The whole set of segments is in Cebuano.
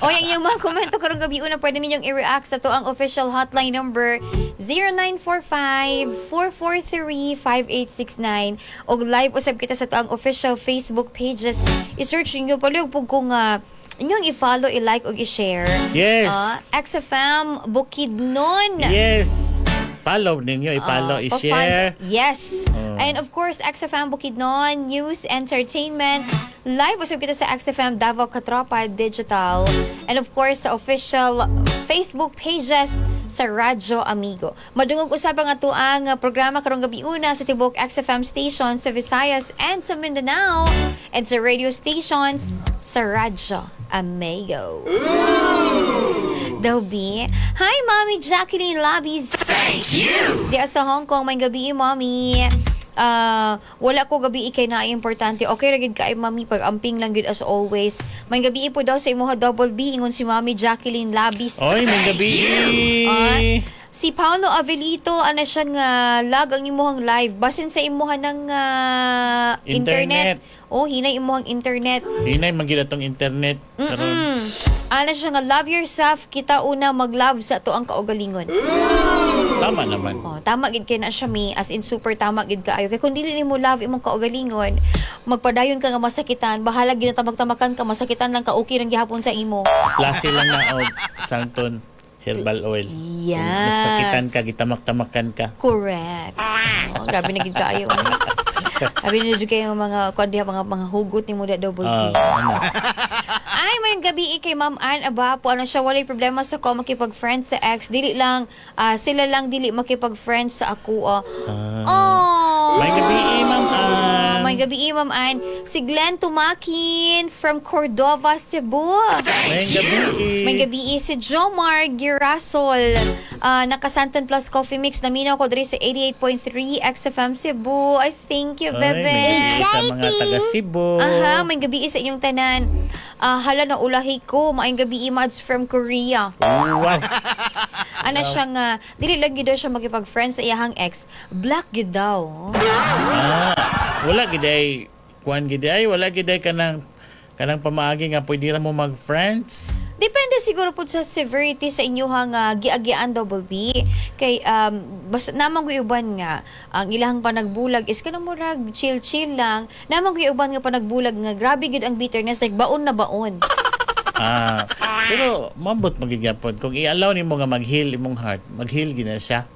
O, ang inyong mga komento karong gabi una, pwede ninyong i-react sa atoang official hotline number 0945-443-5869 og live usab kita sa atoang official Facebook pages. I-search niyo palihog pug kung inyong i-follow, i-like ug i-share. XFM Bukidnon. Yes. Follow ninyo, i-follow, i-share. Pa-follow. Yes. Oh. And of course, XFM Bukidnon, News, Entertainment. Live usab kita sa XFM Davao Katropa Digital. And of course, sa official Facebook pages sa Radyo Amigo. Madungog usab ang atoang programa karong gabi una sa tibok XFM station sa Visayas and sa Mindanao and sa radio stations sa Radyo Amigo. Dobby. Hi, Mommy Jacqueline Labis. Thank you! Di sa Hong Kong, maayong gabi, Mommy. Ah, wala ko gabi kay na importante. Okay ra gid kay Mami, pag-amping lang gid as always. Maayong gabi po daw sa imuha, Double B, ingon si Mami Jacqueline Labis. Oy, maayong gabi. Ah, si Paolo Avelito, ano siya nga lag ang imuhang live. Basin sa imuha ng internet. Internet. Oh, hinay imuhang internet. Hinay man gid atong internet karon. Ano siya nga love yourself, kita una mag-love sa atoang kaugalingon. Tama naman. Oh, tama gid kay na siya, mi, as in super tama gid kaayo. Kay kung dili nimo love imong kaugalingon, magpadayon ka nga masakitan, bahala ginatamag-tamakan ka, masakitan lang ka, okay rang gihapon sa imo. Klase lang na og Santon herbal oil. Kung masakitan ka, gitamak-tamakan ka. Correct. Oh, grabe na gid kaayo. Grabe na jud kayo mga kuan diha, mga hugot nimo da, Double P. Ah, ano? Ay, may gabi kay Ma'am Ann Abapo. Ano siya, walay problema sa ko makipag-friend sa ex. Dili lang, sila lang dili makipag-friend sa ako. Ah. Ah. Oh. Maayong gabi, Ma'am Ann. Maayong gabi, Ma'am Ann. Si Glenn Tumakin from Cordova, Cebu. Maayong gabi. Maayong gabi si Jomar Girasol. Naka Santon Plus Coffee Mix. Naminaw ko diri sa 88.3 XFM Cebu. Ay, thank you, Ay, bebe. maayong gabi sa mga taga Cebu. Aha, maayong gabi sa inyong tanan. Ah, hala na ulahi ko. Maayong gabi, Mads from Korea. Wow. Ana siya nga, dili lang gid daw siya makipag-friend sa iyahang ex. Black gid daw. Ah, wala gid ay kuan gid ay wala gid ay kanang pamaagi nga pwede ra mo mag-friends. Depende siguro po sa severity sa inyuhang giagian, Double B. Kay basta namang uban nga ang ilahang panagbulag is kanang murag chill-chill lang. Namang uban nga panagbulag nga grabe gid ang bitterness, like baon na baon. Ah, pero mambot magid gyapon kung i-allow nimo nga mag-heal imong heart, mag-heal gid na siya.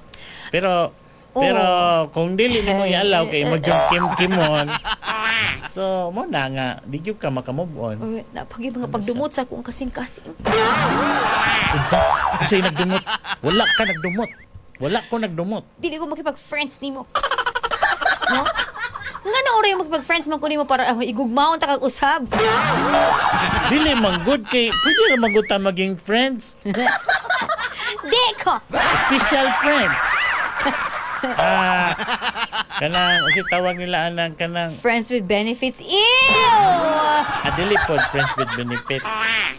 Pero pero kung dili nimo i-allow kay imo jung kim-kimon. So, mo na nga di gyud ka maka-move on. Uy, napagi mga pagdumot sa akong kasing-kasing. Unsa? Unsay nagdumot? Wala ka nagdumot. Wala ko nagdumot. Dili ko makipag-friends nimo. No? Nga na oray makipag-friends man ko nimo para igugmaon ta kag usab. Dili man good kay pwede ra man gud ta maging friends. Di ko. Special friends. Ah, kanang unsay tawag nila anang kanang Friends with benefits. Ew! Ah, dili pod friends with benefit.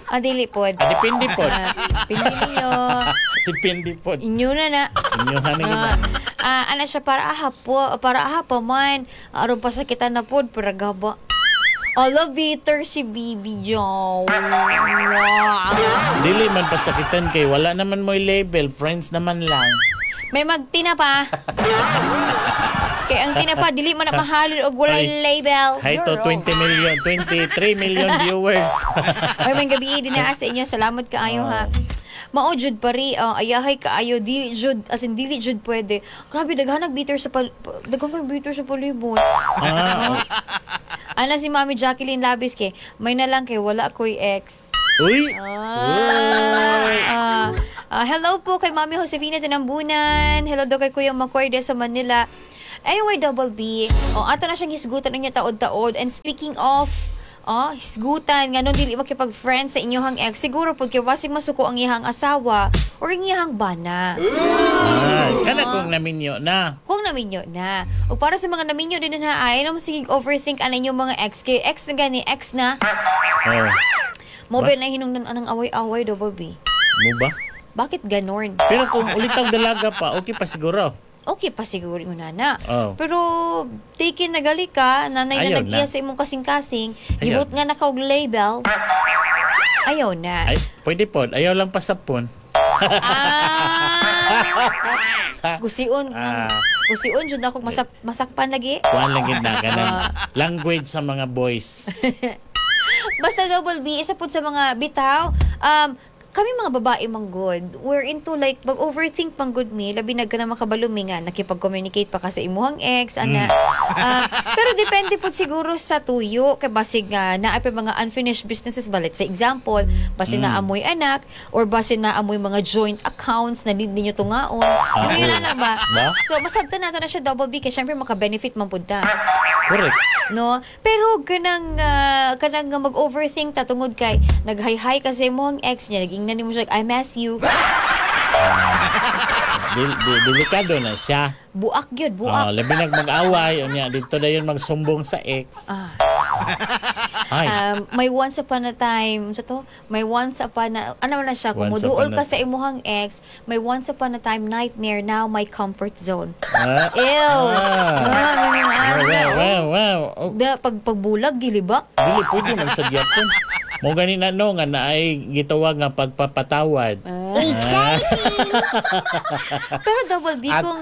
Ah, dili pod. Ah, depende pod. Ah, pili ninyo. Depende pod. Inyo na na. Inyo ni Ah, ah, ana siya para aha po, para aha pa man. Aron pasakitan na pod para gaba. Ala, bitter si Bibi Jow. Dili man pasakitan kay wala naman mo'y label, friends naman lang. May magtina pa. Kay ang tinapa dili man na mahalin og walay Ay. label. Hi to 20 million, 23 million viewers. Ay, maayong gabi din na sa inyo. Salamat kaayo ha. Mao jud pari, ayahay kaayo dili jud, as in dili jud pwede. Grabe daghan nag bitter sa daghan kay bitter sa palibot. Ah, oh. Ana si Mami Jacqueline Labis kay may na lang kay wala ko'y ex. Uy! Ah, ah, ah, hello po kay Mami Josefina Tinambunan. Hello daw kay Kuya Makoy de sa Manila. Anyway, Double B, oh, ato na siyang hisgutan niya taod-taod. And speaking of, oh, hisgutan, nga dili makipag-friend sa inyong ex, siguro pud kay wasig masuko ang iyang asawa or ang iyang bana. Ah, kana kung naminyo na. Kung naminyo na. O para sa mga naminyo din na ay, naman sige overthink ana inyong mga ex. Kay ex na gani, ex na. Oh, Mo ba na hinungdan anang away-away, Double B? Mo ba? Bakit ganon? Pero kung ulitaw dalaga pa, okay pa siguro. Okay pa siguro yung nana. Oh. Pero taken na gali ka, nanay na Ayaw nag-iya na. sa imong kasing-kasing, Ayaw gibot nga nakaog label. Ayaw na. Ay, pwede po. Ayaw lang pasapon. Ah. Gusion, gusion jud ako masakpan lagi. Kuan lang gid na kanang language sa mga boys. Basta, Double B, isa pud sa mga bitaw, kami mga babae man gud, we're into like, mag-overthink pang gud mi, labi na ka na makabalumi nga, nakipag-communicate pa ka sa imuhang ex, ana. Ah, pero depende po siguro sa tuyo, kay basig nga, naa pa mga unfinished businesses ba, let's say example, basin naa moy anak, or basin naa moy mga joint accounts na need ninyo tungaon. Ano yun na ba? Ba? So, masabtan nato na siya, Double B, kay syempre maka-benefit man pud ta. Correct. No? Pero kanang nga mag-overthink ta tungod kay naghay-hi kasi mo ang ex niya, nagingnan nimo siya, "I miss you." Delikado na siya. Buak gyud, Oh, buak. labi nag mag-away unya dito na yun magsumbong sa ex. Ay, May once upon a time, sa to, may once upon a, ano na siya, kung Once muduol upon a ka sa imuhang ex, may once upon a time nightmare, now my comfort zone. Ah, Ew. Ah. Ah, may mga Wow. Oh, Da, pag pagbulag, gilibak. dili pwede man sa gyapon. Mo gani na no nga naay gitawag nga pagpapatawad. Pero, Double B, kung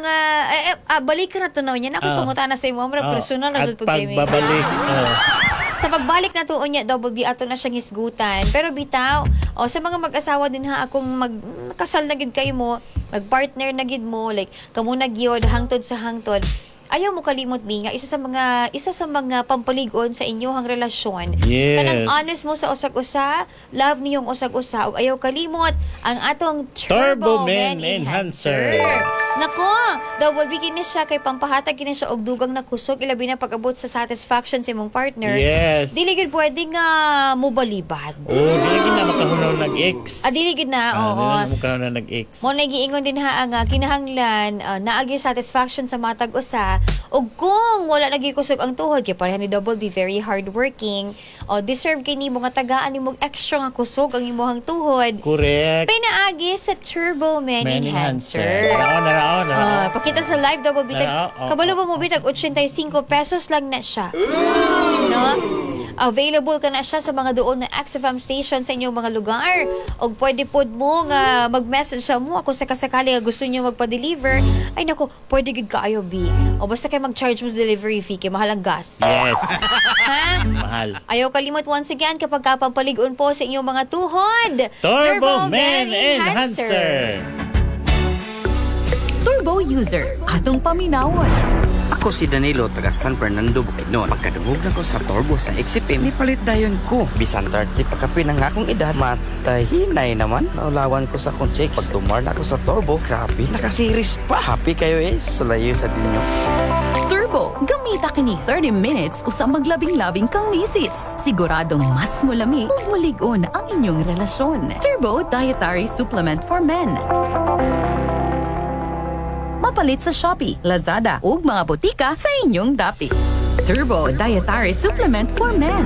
balik ka na to niya, na ako pangutana sa imo, mura personal na at jud pud kay mi. pagbabalik. Oh. Sa pagbalik na tuon niya, Double B, ato na siyang hisgutan. Pero bitaw, o sa mga mag-asawa din ha, akong mag kasal na gid kayo mo, mag-partner na gid mo, like kamo na gyud hangtod sa hangtod. Ayaw mo kalimot mi nga isa sa mga pampaligon sa inyong relasyon. Kanang honest mo sa usag-usa, love niyong usag-usa ug ayaw kalimot ang atong Turbo, Turbo Man Man Enhancer. Enhancer. Nako, Double B, kini siya kay pampahatag kini siya og dugang na kusog, ilabi na pag-abot sa satisfaction sa imong partner. Dili gid pwede nga mobalibad. Oh, dili gid na makahunaw nag-ex. Ah, dili gid na, Ah, oo. dili na makahunaw nag-ex. Mo na giingon din ha nga kinahanglan naagi satisfaction sa matag usa, ug kung wala nagi kusog ang tuhod kay pareha ni Double B, very hardworking, o deserve kini mo nga tagaan nimo og extra nga kusog ang imong tuhod. Pinaagi sa Turbo Man, Man Enhancer. Enhancer. Narao, narao, narao. Ah, pakita sa live, Double B. Narao, oo. Kabalo ba mo bitag 85 pesos lang na siya. No? Available ka na siya sa mga doon na XFM station sa inyong mga lugar. O pwede pod mo nga mag-message siya mo kung sakasakali nga gusto niyo magpa-deliver. Ay nako, pwede gid kaayo, B. O basta kay mag-charge mo sa delivery fee kay mahal ang gas. Yes. Ha? Mahal. Ayaw kalimot once again kapag kapampaligon po sa inyong mga tuhod. Turbo Man Enhancer. Turbo user, atong paminawon. Ako si Danilo, taga San Fernando, Bukidnon. Pagkadungog na ko sa Turbo sa XFM, nipalit dayon ko. Bisan 30 pa kapin ang akong edad, matahinay naman. Naulawan ko sa akong chicks. Pag tumar na ako sa Turbo, grabe, nakasiris pa. Happy kayo eh, sulayo sa dinyo. Turbo, gamita kini 30 minutes usa maglabing-labing kang misis. Siguradong mas mulami ug mulig-on ang inyong relasyon. Turbo Dietary Supplement for Men. Mapalit sa Shopee, Lazada ug mga botika sa inyong dapit. Turbo Dietary Supplement for Men.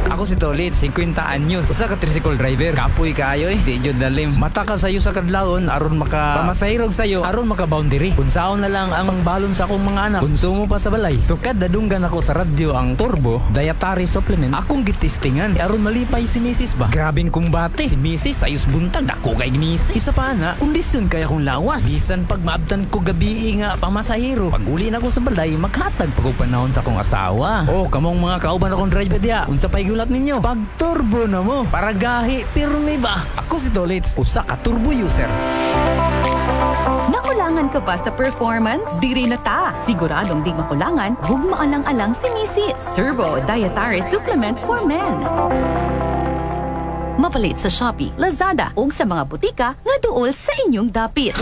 Ako si Tolit, 50 anyos. Usa ka tricycle driver. Kapoy kaayo eh. Di jud dalim. Mata ka sayo sa kadlawon aron maka pamasahirog sayo aron maka boundary. Unsaon na lang ang balon sa akong mga anak. Konsumo pa sa balay. Sukad nadunggan ako sa radyo ang Turbo Dietary Supplement. Akong gitistingan aron malipay si Mrs. ba. Grabing kumbate. Si Mrs. ayos buntag dako kay Mrs. Isa pa na, kondisyon kaya kong lawas. Bisan pag maabtan ko gabi nga pamasahiro. Pag uli na ko sa balay, maghatag pag og panahon sa akong asawa. Oh, kamong mga kauban akong driver diya. Unsa pa'y gulat ninyo? Pag turbo na mo. Para gahi pirmi ba? Ako si Tolits, usa ka turbo user. Nakulangan ka ba sa performance? Diri na ta! Siguradong di makulangan, ug maalang-alang si Mrs. Turbo Dietary Supplement for Men. Mapalit sa Shopee, Lazada ug sa mga butika nga duol sa inyong dapit.